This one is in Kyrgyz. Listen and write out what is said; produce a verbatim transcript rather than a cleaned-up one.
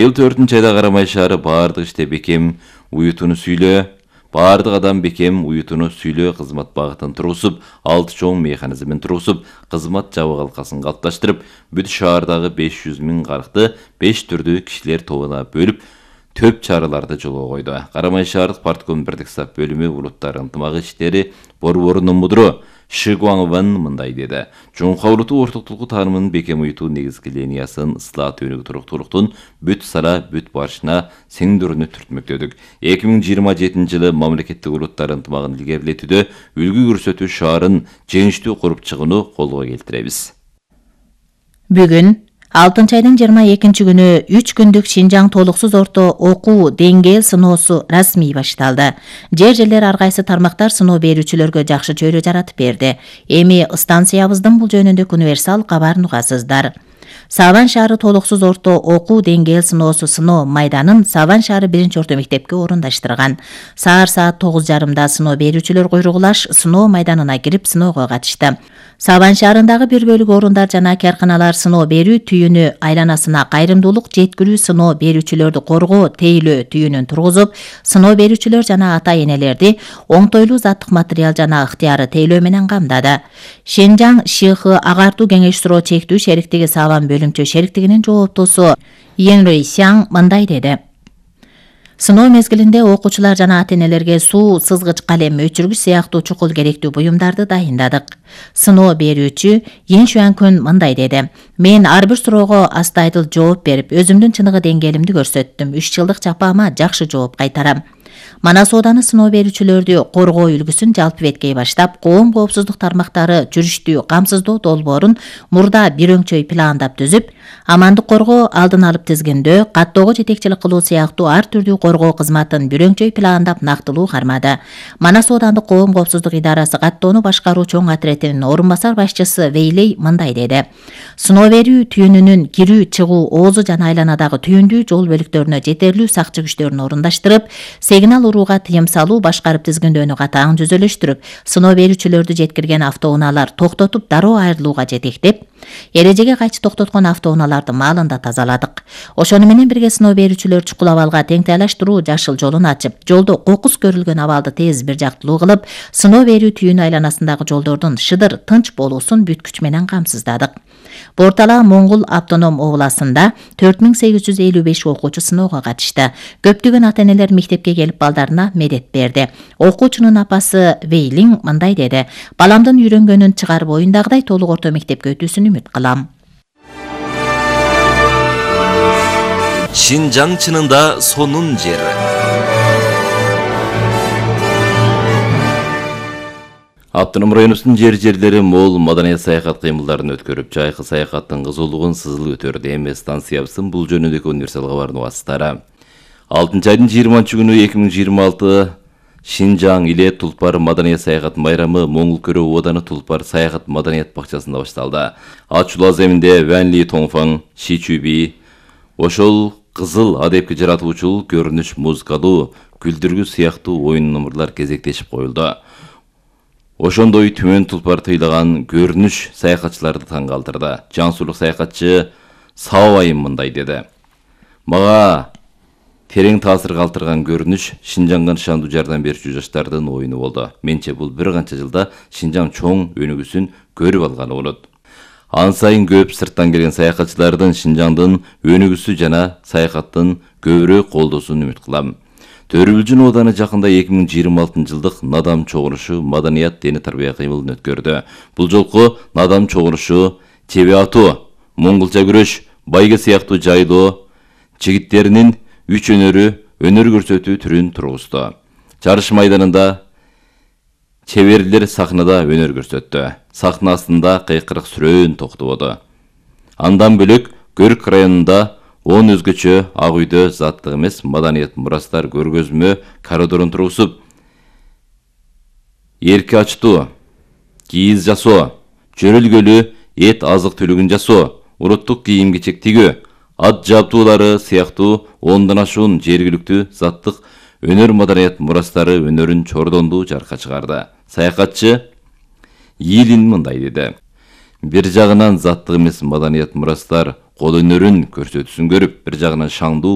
Эл төртүнчү айда Карамай шаары баардык иште бекем уютуну сүйлөө, баардык адам бекем уютуну сүйлөө кызмат багытын тургузуп, алты чоң механизмин тургузуп, кызмат жабык алкасын калыпташтырып, бүт шаардагы беш жүз миң карыкты беш түрдүү кишилер тобуна бөлүп, төп чараларды жолго койду. Карамай шаардык партком бирдик сап бөлүмү улуттар ынтымак иштери борборунун мудру Ши Гуангван мындай деди. Жоңкой улуту ортоктулуку таанымынын бекем уютуу негизги линиясын ысылат өнүгүү туруктуулуктун бүт сара бүт барышына сеңдүүрүнү түртмөктөдүк. эки миң жыйырма жетинчи жылы мамлекеттик улуттар ынтымагын илгерилетүүдө үлгү көрсөтүү шаарын жеңиштүү куруп чыгууну колго келтиребиз. Бүгүн алтынчы айдын жыйырма экинчи күнү үч күндүк Шинжаң толуксуз орто окуу деңгээл сыноосу расмий башталды. Жер жерлер ар кайсы тармактар сыноо берүүчүлөргө жакшы чөйрө жаратып берди. Эми станциябыздын бул жөнүндө универсал кабарын угасыздар. Сабан шаары толуксуз орто окуу деңгээл сыноосу сыноо майданын Сабан шаары биринчи орто мектепке орундаштырган. Саар саат тогуз жарымда сыноо берүүчүлөр куйругулаш сыноо майданына кирип сыноого катышты. Сабан шаарындагы бир бөлүк орундар жана карканалар сыноо берүү түйүнү айланасына кайрымдуулук жеткирүү сыноо берүүчүлөрдү коргоо тейлөө түйүнүн тургузуп, сыноо берүүчүлөр жана ата энелерди оңтойлуу заттык материал жана ыктыяры тейлөө менен камдады. Шинжаң ШХ агартуу кеңеш суроо чектүү шериктиги Сабан бөлүмчө шериктигинин жооптосу Енрей Сяң мындай деди. Сыноо мезгилинде окуучулар жана ата энелерге суу, сызгыч калем, өчүргүч сыяктуу чукул керектүү буюмдарды дайындадык. Сыноо берүүчү Ен Шуанкүн мындай деди. Мен ар бир суроого астайдыл жооп берип, өзүмдүн чыныгы деңгээлимди көрсөттүм. үч жылдык жапаама жакшы жооп кайтарам. Манас ооданы сыноо берүүчүлөрдү коргоо үлгүсүн жалпы беткей баштап, коом коопсуздук тармактары жүрүштүү камсыздоо долбоорун мурда бир өңчөй пландап түзүп, амандык коргоо, алдын алып тизгиндөө, каттоого жетекчилик кылуу сыяктуу ар түрдүү коргоо кызматын бир өңчөй пландап нактылуу кармады. Манас оодандык коом коопсуздук идарасы каттоону башкаруу чоң отретинин орун басар башчысы Вейлей мындай деди. Сыноо берүү түйүнүнүн кирүү, чыгуу, оозу жана айланадагы түйүндүү жол бөлүктөрүнө жетерлүү сакчы күчтөрүн орундаштырып, сигнал урууга тыйым салуу, башкарып тизгиндөөнү катаң түзөлүштүрүп, сыноо берүүчүлөрдү жеткирген автоунаалар токтотуп дароо айрылууга жетектеп, эрежеге кайчы токтоткон автоунааларды маалында тазаладык. Ошону менен бирге сыноо берүүчүлөр чукул абалга теңтайлаштыруу жашыл жолун ачып, жолдо кокус көрүлгөн абалды тез бир жактылуу кылып, сыноо берүү түйүнү айланасындагы жолдордун шыдыр, тынч болуусун бүт күч менен камсыздадык. Бортала Моңгул автоном областында төрт миң сегиз жүз элүү беш окуучу сыноого катышты. Көптөгөн ата энелер мектепке келип балдарына медет берди. Окуучунун апасы Вейлин мындай деди. Баламдын үйрөнгөнүн чыгарып оюндагыдай толук орто мектепке өтүүсүн үмүт кылам. Шинжаң чынында сонун жери. Автоном районубуздун жер жерлери мол маданият саякат кыймылдарын өткөрүп, жайкы саякаттын кызуулугун сызыл өтөрдү. Эми станциябыздын бул жөнүндөгү универсал кабардын угасыздары. алтынчы айдын жыйырманчы күнү эки миң жыйырма алты Шинжаң иле Тулпар маданият саякат майрамы Моңгул көрөө ооданы Тулпар саякат маданият бакчасында башталды. Ачулаа земинде Ван Ли Тоңфаң, Ши Чуби, ошол кызыл адепке жаратуучул көрүнүш музыкалуу, күлдүргү сыяктуу оюн номурлар кезектешип коюлду. Ошондой Түмөн Тулпар тыйлаган көрүнүш саякатчыларды таң калтырды. Жансуулук саякатчы Саабайым мындай деди. Мага терең таасир калтырган көрүнүш Шинжаңга нышандуу жардам берүүчү жаштардын оюну болду. Менче бул бир канча жылда Шинжаң чоң өнүгүүсүн көрүп алганы болот. Ан сайын көп сырттан келген саякатчылардын Шинжаңдын өнүгүүсү жана саякаттын көбүрөөк колдоосун үмүт кылам. Төрүбүлжүн ооданы жакында эки миң жыйырма алтынчы жылдык Надам чогулушу маданият дене тарбия кыймылын өткөрдү. Бул жолку Надам чогулушу чеби атуу, моңгулча күрөш, байге сыяктуу жайлоо жигиттеринин үч өнөрү өнөр көрсөтүү түрүн тургузду. Жарыш майданында чеберлер сахнада өнөр көрсөттү. Сахна астында кыйкырык сүрөөн токтободу. Андан бөлөк Көрк районунда он өзгөчө ак үйдө заттык эмес маданият мурастар көргөзмө коридорун тургузуп, эрки ачтуу, кийиз жасоо, жөрөлгөлүү эт азык түлүгүн жасоо, улуттук кийим-кечек тигүү, ат жабдуулары сыяктуу ондон ашуун жергиликтүү заттык өнөр маданият мурастары өнөрүн чордондуу жаркка чыгарды. Саякатчы Йилин мындай деди. Бир жагынан заттык эмес маданият мурастар кол өнөрүн көрсөтүүсүн көрүп, бир жагынан шаңдуу